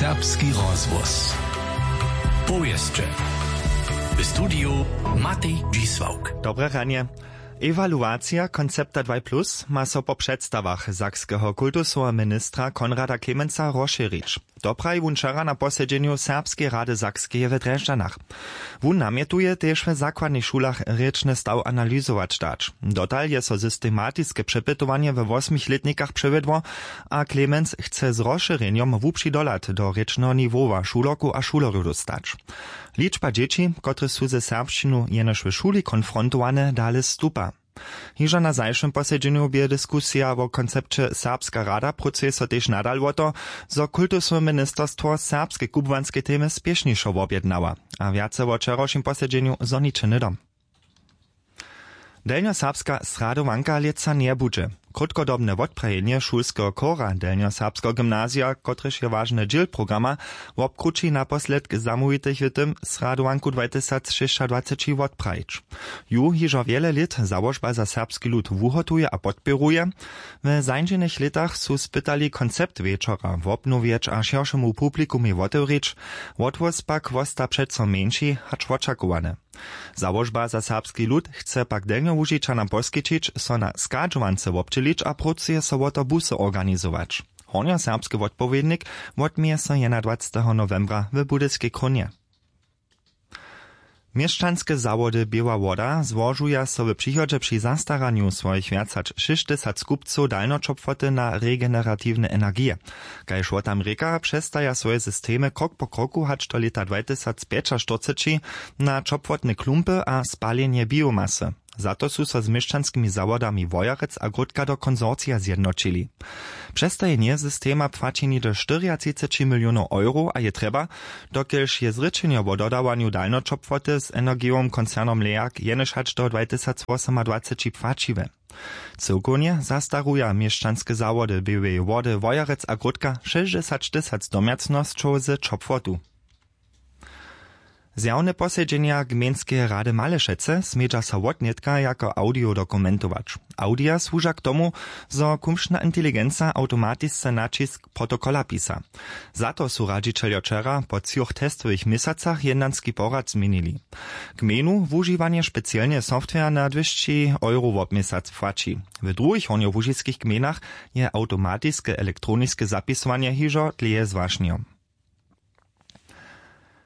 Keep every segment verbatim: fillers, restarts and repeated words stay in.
Serbski rozhłos. Powěsće. W studiju Matej Dźisławk. Dobre ranje. Ewaluacija koncepta dwaj plus ma so po předstawach sakskeho kultusoweho ministra Konrada Klemensa rozšěrić. To praji wón wčera na posedźenju Serbskeje rady Sakskeje w Drježdźanach. Wón namjetuje, tež w zakładnych šulach rěčny staw analyzować dać. Dotal je so systematiske přepytowanje we wosmich lětnikach přewjedło a Klemenc chce z rozšěrjenjom hłubši dohlad do rěčneho niwowa šulerkow a šulerjow dóstać. Ličba dźěći, kotrež su ze serbšćinu jenož w šuli konfrontowane, dale stupa. Hižo na zašłym posedźenju bě diskusija wo koncepće Serbska rada, prócuje so tež nadal wo to, zo kultusowe ministerstwo serbske kubłanske temy spěšnišo wobjednała. A wjace wo wčerawšim posedźenju zhoniće hnydom. Delnjoserbska sradowanka lětsa njebudźe. Krótkodobne wotprajenje šulskeho chora delnjoserbskeho gymnazija, kotrež je wažny dźěl programa, wobkrući naposledk zamołwitych w tym, sradowanku dwajtysacšěsćadwaceći wotprajić. Ju hižo wjele lět załožba za serbski lud wuhotuje a podpěruje. W zańdźenych lětach su spytali koncept wječora wobnowjeć a šěršemu publikumej wotewrić. Wotwóz pak wosta přeco mjeńši hač wočakowane. Załožba za serbski lud chce pak delnjołužičanam poskićić, so na schadźowance wobdźělić a prócuje so wo to busy organizować. Hornjoserbski wotpowědnik wotměje so jedynadwaceteho nowembra w budyskej krónje. Měšćanske zawody Běła woda złožuja so w přichodźe při zastaranju swojich wjac hač šěsćtysac kupcow dalnjoćopłoty na regeneratiwne energije. Kaž wo tam rěka, přestaja swoje systemy krok po kroku hač do lěta dwajtysacpjećaštyrceći na ćopłotne klumpy a spalenje biomasy. Za to su so z měšćanskimi zawodami Wojerec a Grótka do konsorcija zjednoćili. Přestajenje systema płaći něhdy štyriatřiceći milionow eurow a je trjeba, dokelž je zrěčenjo wo dodawanju dalnjoćopłoty z energijowym koncernom leag jenož hač do dwajtysacwosomadwaceći płaćiwe. Cyłkownje zastaruja měšćanske zawody Běłeje wody Wojerec a Grótka šěsćdźesać tysac domjacnosćow z ćopłotu. Zjawne posedźenja gmejnskeje rady Malešecy smědźa so wotnětka jako audio dokumentować. Audia słuža k tomu, zo kumšna inteligenca awtomatisce naćisk protokola pisa. Za to su radźićeljo wčera po třoch testowych měsacach jednanski porad změnili. Gmejnu wužiwanje specielneje software na dwěsći euro wobměsac płaći. W druhich hornjołužiskich gmejnach je awtomatiske elektroniske zapisowanje hižo dlěje zwašnjo.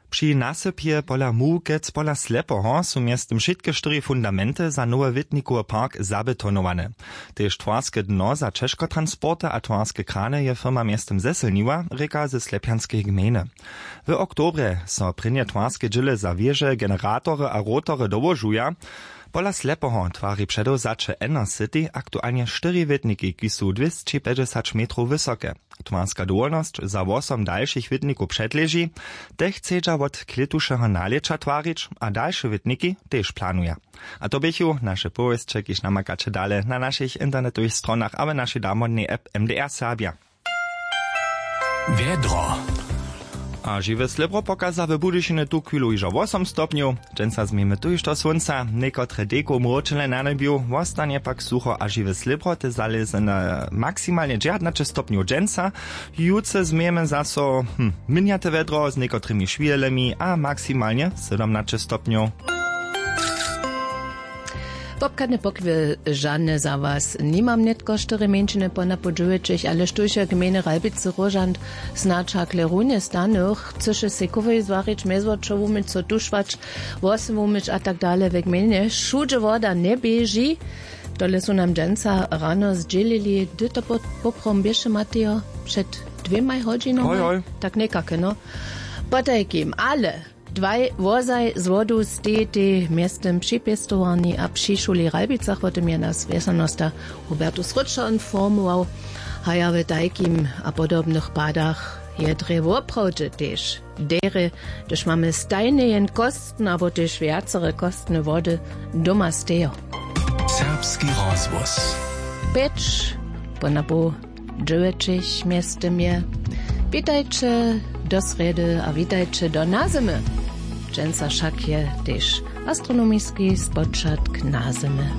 Při nasypje pola Mułkec pola Slepoho su mjeztym wšitke štyri fundamenty za nowy wětnikowy park zabetonowane. Tež twarske dno za ćežkotransporty a twarske krany je firma mjeztym zesylniła, rěka ze Slepjanskeje gmejny. W oktobrje so prěnje twarske dźěle za wěže, generatory a rotory dołožuja. Pola Slepoho twari předewzaće Enercity aktualnje štyri wětniki, kiž su dwěsći pjećdźesać metrow wysoke. Twarska dowolnosć za wosom dalšich wětnikow předleži. Te chcedźa wot klětušeho nalěća twarić a dalše wětniki tež planuja. A to běchu naše powěsće, kiž namakaće dale na našich internetowych stronach a w našej damodnej app M D R Serbja. Wjedro. A žiwe slěbro pokaza w Budyšinje tuchwilu hižo wosom stopnjow. Dźensa změjemy tuž do słónca, někotre dejkow mróčele na njebju, wostanje pak sucho a žiwe slěbro te zalěze na maksimalnje dźewjatnaće stopnjow dźensa. Jutře změjemy zaso hm, mjenjate wjedro z někotrymi šwihelemi a maksimalnje sydomnaće stopnjow. Wobchadne pochwyžane za was nimam nětko, štyri mjeńšiny po napoł dźewjećich, ale štóž je w gmejny Ralbicy róžant, snadź hakle runje stanych, chcyše sej kowej zwarić, mjezwočo wumyć, so tušwać, włosy wumyć a tak dale. We gmejnje wšudźe woda njeběži. Tole su nam dźensa rano zdźělili. Hdy to po- poprawom běše, Matejo? Před dwěmaj hodźinoma? Hoj, hoj. Tak někake, no. Potajkim, ale dwaj wozaj z wodu stejitej mjeztym při pěstowarni a při šuli w Ralbicach. Wo tym je nas wjesanosta Hubertus Rutschel informował. Haja w tajkim a podobnych padach je drje woprawdźe tež derje, hdyž mamy stajnje jen kostne abo tež wjacere kostne wody doma stejo. Serbski rozhłos. Pjeć po napoł dźewjećich mjeztym je. Witajće do srjedy a witajće do nazymy. Dźensa wšak je tež astronomiski spočatk nazymy.